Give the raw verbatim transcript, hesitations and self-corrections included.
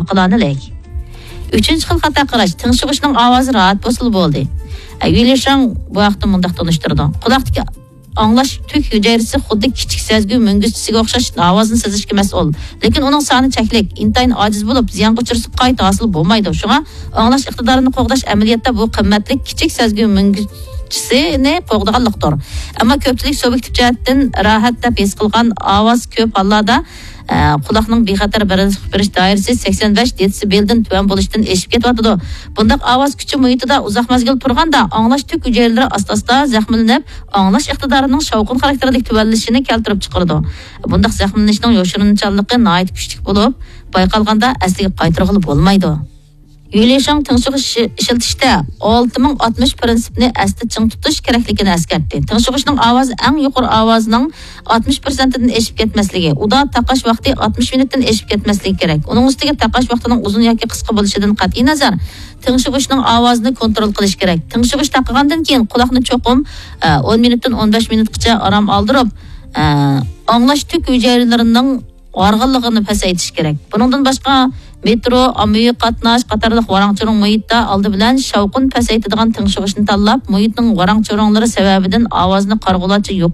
قىلانىلەي. ئۈچىنچى خىل خاتا قاراش، تىڭشىغۇچنىڭ ئاۋازى راھەت بولسىلا بولدى. ئە، يۈلىشاڭ بۇ ھەقتە مۇنداق تونۇشتۇرىدۇ. قۇلاقتىكى ئاڭلاش تۈك ھۈجەيرىسى خۇددى كىچىك سەزگۈ مۈڭگۈزچىسىگە ئوخشاش ئاۋازنى سېزىشكە مەسئۇل. لېكىن ئۇنىڭ سانى چەكلىك، ئىنتايىن ئاجىز بولۇپ، زىيانغا ئۇچرىسا قايتا ھاسىل بولمايدۇ. شۇڭا ئاڭلاش ئىقتىدارىنى قوغداش ئەمەلىيەتتە بۇ قىممەتلىك كىچىك سەزگۈ مۈڭگۈزچىسىنى قوغدىغانلىقتۇر. ئەمما كۆپچىلىك سۇبيېكتىپ جەھەتتىن راھەت دەپ ھېس قىلغان ئاۋاز كۆپ ھاللاردا، ئە، قۇلاقنىڭ بىخەتەر بىرىنچىلىق بېرىش دائىرىسى سەكسەن بەش دېتسىبېلدىن تۆۋەن بولۇشتىن ئېشىپ كېتىۋاتىدۇ. بۇنداق ئاۋاز كۈچى مۇھىتىدا ئۇزاق مەزگىل تۇرغاندا، ئاڭلاش تۈك ھۈجەيرىلىرى ئاستا-ئاستا زەخىملىنىپ، ئاڭلاش ئىقتىدارىنىڭ شاۋقۇن خاراكتېرىدىكى تۆۋەنلىشىنى كەلتۈرۈپ چىقىرىدۇ. بۇنداق زەخىملىنىشنىڭ يوشۇرۇنچانلىقى ناھايىتى كۈچلۈك بولۇپ، بايقالغاندا ئەسلىگە قايتۇرغىلى بولمايدۇ. يۈلىشاڭ تىڭشىغۇچ ئىشلىتىشتە ئالتە مىڭ ئاتمىش پىرىنسىپنى ئەستە چىڭ تۇتۇش كېرەكلىكىنى ئەسكەرتتى. تىڭشىغۇچنىڭ ئاۋازى ئەڭ يۇقىرى ئاۋازنىڭ ئاتمىش پىرسەنتىدىن ئېشىپ كەتمەسلىكى، ئۇدا تاقاش ۋاقتى ئاتمىش مىنۇتتىن ئېشىپ كەتمەسلىكى كېرەك. ئۇنىڭ ئۈستىگە تاقاش ۋاقتىنىڭ ئۇزۇن ياكى قىسقا بولۇشىدىن قەتئىينەزەر، تىڭشىغۇچنىڭ ئاۋازىنى كونترول قىلىش كېرەك. تىڭشىغۇچ تاقىغاندىن كېيىن قۇلاقنى چوقۇم، ئە، ئون مىنۇتتىن ئون بەش مىنۇتقىچە ئارام ئالدۇرۇپ، ئە، ئاڭلاش تۈك ھۈجەيرىلىرىنىڭ ھارغىنلىقىنى پەسەيتىش كېرەك. بۇنىڭدىن باشقا، مېترو، ئاممىۋى قاتناش قاتارلىق ۋاراڭ-چۇرۇڭ مۇھىتتا ئالدى بىلەن شاۋقۇن پەسەيتىدىغان تىڭشىغۇچنى تاللاپ، مۇھىتنىڭ ۋاراڭ-چۇرۇڭلىرى سەۋەبىدىن ئاۋازنى قارىغۇلارچە يۇقىرى